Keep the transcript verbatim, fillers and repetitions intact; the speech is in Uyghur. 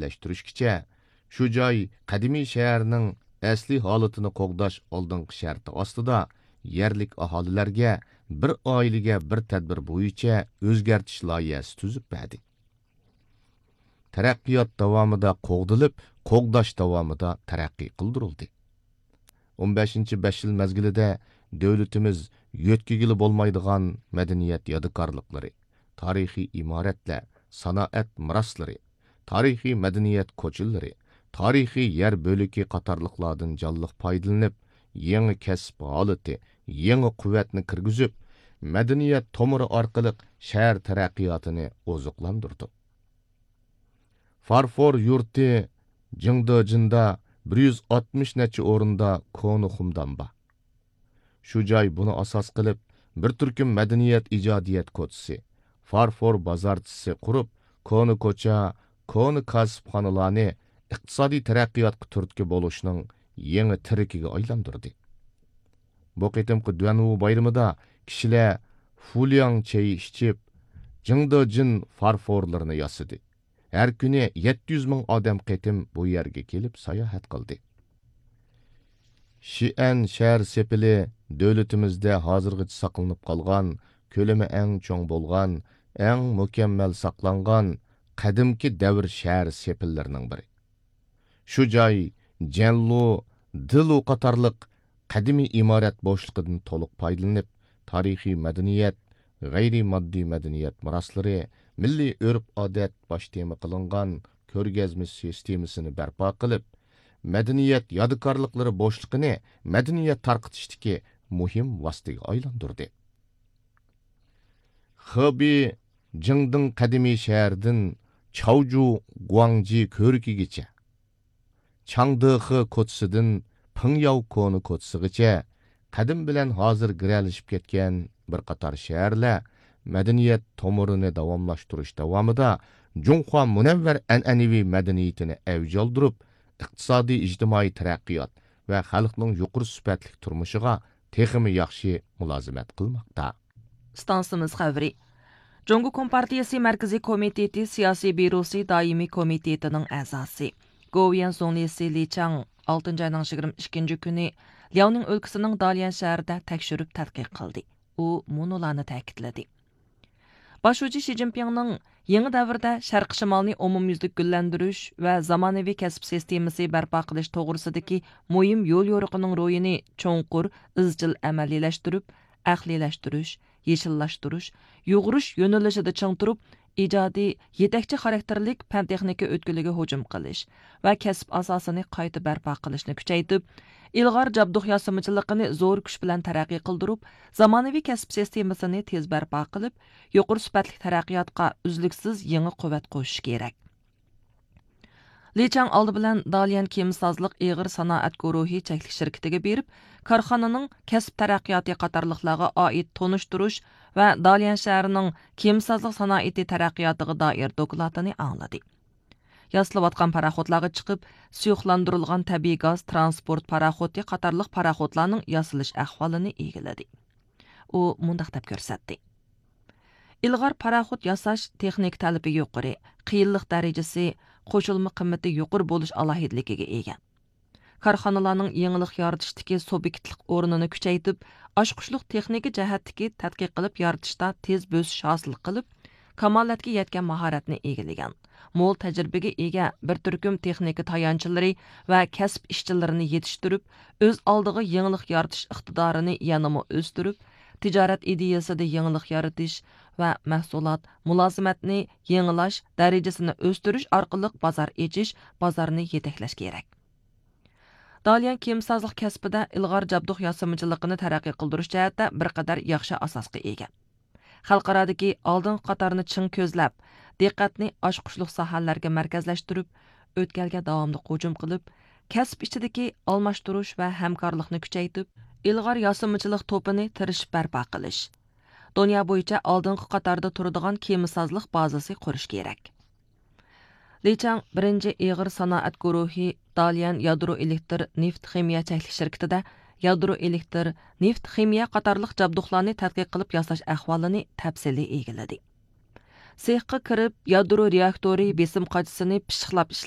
ئەبەدىلەشتۈرۈشكىچە، شۇ جاي قەدىمىي شەھەرنىڭ ئەسلىي ھالىتىنى قوغداش ئالدىنقى شەرتى ئاستىدا يەرلىك ئاھالىلەرگە بىر ئائىلىگە بىر تەدبىر بويىچە ئۆزگەرتىش لايىھەسى تۈزۈپ بەردى. تەرەققىيات داۋامىدا قوغدىلىپ، قوغداش داۋامىدا تەرەققىي قىلدۇرۇلدى. ئون بەشىنچى بەش يىل مەزگىلىدە دۆلىتىمىز يۆتكىگىلى بولمايدىغان مەدەنىيەت يادىكارلىقلىرى، تارىخىي ئىمارەتلەر، سانائەت مىراسلىرى، تارىخىي مەدەنىيەت كوچىلىرى، تارىخىي يەر بۆلىكى قاتارلىقلاردىن جانلىق پايدىلىنىپ، يېڭى كەسىپ ھالىتى، يېڭى قۇۋۋەتنى كىرگۈزۈپ، مەدەنىيەت تومۇرى ئارقىلىق شەھەر تەرەققىياتىنى ئوزۇقلاندۇردۇق. فارفور يۇرتى جىڭدېجىندا بىر يۈز ئاتمىش نەچچە ئورۇندا كونا خۇمدان بار. شۇ جاي بۇنى ئاساس قىلىپ، بىر تۈركۈم مەدەنىيەت ئىجادىيەت كوچىسى، فارفور بازارچىسى قۇرۇپ، كونا كوچا، كونا كاسىپخانىلارنى ئىقتىسادىي تەرەققىياتقا تۈرتكە بولۇشنىڭ يېڭى تىرىكىگە ئايلاندۇردى. بۇ قېتىمقى دۈەنۋۇ بايرىمىدا كىشىلەر فۇلياڭ چېيى ئىچىپ، جىڭدېجىن فارفورلىرىنى ياسىدى. ھەر كۈنى يەتتە يۈز مىڭ ئادەم قېتىم بۇ يەرگە كېلىپ ساياھەت قىلدى. شىئەن شەھەر سېپىلى دۆلىتىمىزدە ھازىرغىچە ساقلىنىپ قالغان، كۆلىمى ئەڭ چوڭ بولغان، ئەڭ مۇكەممەل ساقلانغان قەدىمكى دەۋر شەھەر سېپىللىرىنىڭ بىرى. شۇ جاي جەنلۇ، دېلۇ قاتارلىق قەدىمىي ئىمارەت بوشلۇقىدىن تولۇق پايدىلىنىپ، تارىخىي مەدەنىيەت، غەيرىي ماددىي مەدەنىيەت مىراسلىرى، مىللىي ئۆرپ-ئادەت باش تېما قىلىنغان كۆرگەزمە سىستېمىسىنى بەرپا قىلىپ، مەدەنىيەت يادىكارلىقلىرى بوشلۇقىنى مەدەنىيەت تارقىتىشتىكى مۇھىم ۋاسىتىگە ئايلاندۇردى. خېبېي جىڭدىڭ قەدىمىي شەھىرىدىن چاۋجۇ گۇاڭجى كۆۋرۈكىگىچە، چاڭدېخې كوچىسىدىن پىڭياۋ كونا كوچىسىغىچە قەدىم بىلەن ھازىر گىرەلىشىپ كەتكەن بىر قاتار شەھەرلەر مەدەنىيەت تومۇرىنى داۋاملاشتۇرۇش داۋامىدا جۇڭخۇا مۇنەۋۋەر ئەنئەنىۋى مەدەنىيىتىنى ئەۋج ئالدۇرۇپ، ئىقتىسادىي، ئىجتىمائىي تەرەققىيات ۋە خەلقنىڭ يۇقىرى سۈپەتلىك تۇرمۇشىغا تېخىمۇ ياخشى مۇلازىمەت قىلماقتا. ئىستانسىمىز خەۋىرى. جۇڭگو كومپارتىيىسى مەركىزىي كومىتېتى سىياسىي بيۇروسى دائىمىي كومىتېتىنىڭ ئەزاسى، گوۋۇيۈەن زۇڭلىسى لى چاڭ ئالتىنچى ئاينىڭ يىگىرمە ئىككىنچى كۈنى لياۋنىڭ ئۆلكىسىنىڭ داليەن شەھىرىدە تەكشۈرۈپ تەتقىق قىلدى. ئۇ مۇنۇلارنى تەكىتلىدى. باش شۇجى شى جىنپىڭنىڭ يېڭى دەۋردە شەرقىي شىمالنى ئومۇميۈزلۈك گۈللەندۈرۈش ۋە زامانىۋى كەسىپ سىستېمىسى بەرپا قىلىش توغرىسىدىكى مۇھىم يوليورۇقىنىڭ روھىنى چوڭقۇر، ئىزچىل ئەمەلىيلەشتۈرۈپ، ئەقلىيلەشتۈرۈش، يېشىللاشتۇرۇش، يۇغۇرۇش يۆنىلىشىدە چىڭ تۇرۇپ، ئىجادىي، يېتەكچى خاراكتېرلىك پەن-تېخنىكا ئۆتكىلىگە ھۇجۇم قىلىش ۋە كەسىپ ئاساسىنى قايتا بەرپا قىلىشنى كۈچەيتىپ، ئىلغار جابدۇق ياسىمىچىلىقىنى زور كۈچ بىلەن تەرەققىي قىلدۇرۇپ، زامانىۋى كەسىپ سىستېمىسىنى تېز بەرپا قىلىپ، يۇقىرى سۈپەتلىك تەرەققىياتقا ئۈزلۈكسىز يېڭى قۇۋۋەت قوشۇش كېرەك. لى چاڭ ئالدى بىلەن داليەن كېمىسازلىق ئېغىر سانائەت گۇرۇھى چەكلىك شىركىتىگە بېرىپ، كارخانىنىڭ كەسىپ تەرەققىياتى قاتارلىقلارغا ئائىت تونۇشتۇرۇش ۋە داليەن شەھىرىنىڭ كېمىسازلىق سانائىتى تەرەققىياتىغا دائىر دوكلاتىنى ئاڭلىدى. ياسىلىۋاتقان پاراخوتلارغا چىقىپ، سۇيۇقلاندۇرۇلغان تەبىئىي گاز ترانسپورت پاراخوتى قاتارلىق پاراخوتلارنىڭ ياسىلىش ئەھۋالىنى ئىگىلىدى. ئۇ مۇنداق دەپ كۆرسەتتى: ئىلغار پاراخوت ياساش تېخنىكا تەلىپى يۇقىرى، قىيىنلىق دەرىجىسى، قوشۇلما قىممىتى يۇقىرى بولۇش ئالاھىدىلىكىگە ئىگە. كارخانىلارنىڭ يېڭىلىق يارىتىشتىكى سۇبيېكتلىق ئورنىنى كۈچەيتىپ، ئاچقۇچلۇق تېخنىكا جەھەتتىكى تەتقىق قىلىپ يارىتىشتا تېز بۆسۈش ھاسىل قىلىپ، كامالەتكە يەتكەن ماھارەتنى ئىگىلىگەن، مول تەجرىبىگە ئىگە بىر تۈركۈم تېخنىكا تايانچلىرى ۋە كەسىپ ئىشچىلىرىنى يېتىشتۈرۈپ، ئۆز ئالدىغا يېڭىلىق يارىتىش ئىقتىدارىنى يەنىمۇ ئۆستۈرۈپ، تىجارەت ئىدىيەسىدە يېڭىلىق يارىتىش ۋە مەھسۇلات، مۇلازىمەتنى يېڭىلاش دەرىجىسىنى ئۆستۈرۈش ئارقىلىق بازار ئېچىش، بازارنى يېتەكلەش كېرەك. داليەن كېمىسازلىق كەسپىدە ئىلغار جابدۇق ياسىمىچىلىقىنى تەرەققىي قىلدۇرۇش جەھەتتە بىر قەدەر ياخشى ئاساسقا ئىگە. خەلقئارادىكى ئالدىنقى قاتارنى چىڭ كۆزلەپ، دىققەتنى ئاچقۇچلۇق ساھەلەرگە مەركەزلەشتۈرۈپ، ئۆتكەلگە داۋاملىق ھۇجۇم قىلىپ، كەسىپ ئىچىدىكى ئالماشتۇرۇش ۋە ھەمكارلىقنى كۈچەيتىپ، ئىلغار ياسىمىچىلىق توپىنى تىرىشىپ بەرپا قىلىش، دۇنيا بويىچە ئالدىنقى قاتاردا تۇرىدىغان كېمىسازلىق بازىسى قۇرۇش كېرەك. لى چاڭ بىرىنچى ئېغىر سانائەت گۇرۇھى داليەن يادرو ئېلېكتر نېفىت خىمىيە چەكلىك شىركىتىدە يادرو ئېلېكتر، نېفىت خىمىيە قاتارلىق جابدۇقلارنى تەتقىق قىلىپ ياساش ئەھۋالىنى تەپسىلىي ئىگىلىدى. سېخقا كىرىپ، يادرو رېئاكتورى بېسىم قاچىسىنى پىششىقلاپ ئىشلەپ،